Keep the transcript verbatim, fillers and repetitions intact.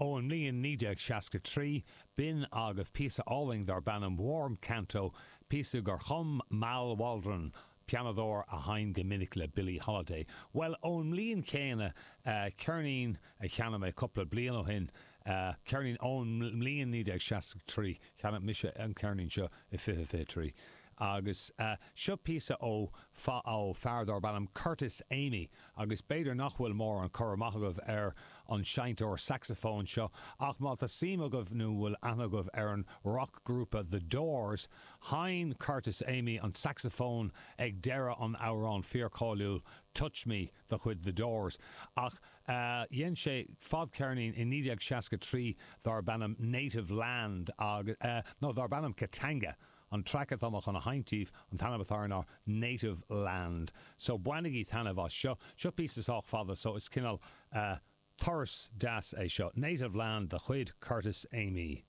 Ón mbliain naoi déag seasca trí, b'in agaibh píosa álainn darb ainm Warm Canto, píosa gur chum Mal Waldron, pianadóir a sheinn go minic le Billie Holiday. Bhuel, ón mbliain chéanna, ceirnín a cheannaigh mé cúpla bliain ó shin, ceirnín ón mbliain naoi déag seasca trí, cheannaigh mise an ceirnín seo i fiche fiche trí, Agus seo píosa ó ó fear darb ainm Curtis Amy, agus b'fhéidir nach bhfuil mórán cur amach agaibh ar an seinnteoir sacsafóin seo, ach má tá suim agaibh nó bhfuil aithne agaibh ar an roc-ghrúpa The Doors, sheinn Curtis Amy an sacsafón ag deireadh an amhráin fíorcháiliúil Touch Me de chuid The Doors. Ach dhein sé fadcheirnín i naoi déag seasca trí darb ainm Native Land agus, nó darb ainm Katanga. An traic atá mé chun a sheinnt daoibh, an t-ainm atá air ná Native Land. So bainigí taitneamh as seo. Seo píosa sách fada so is cineál turas deas é seo. Native Land de chuid Curtis Amy.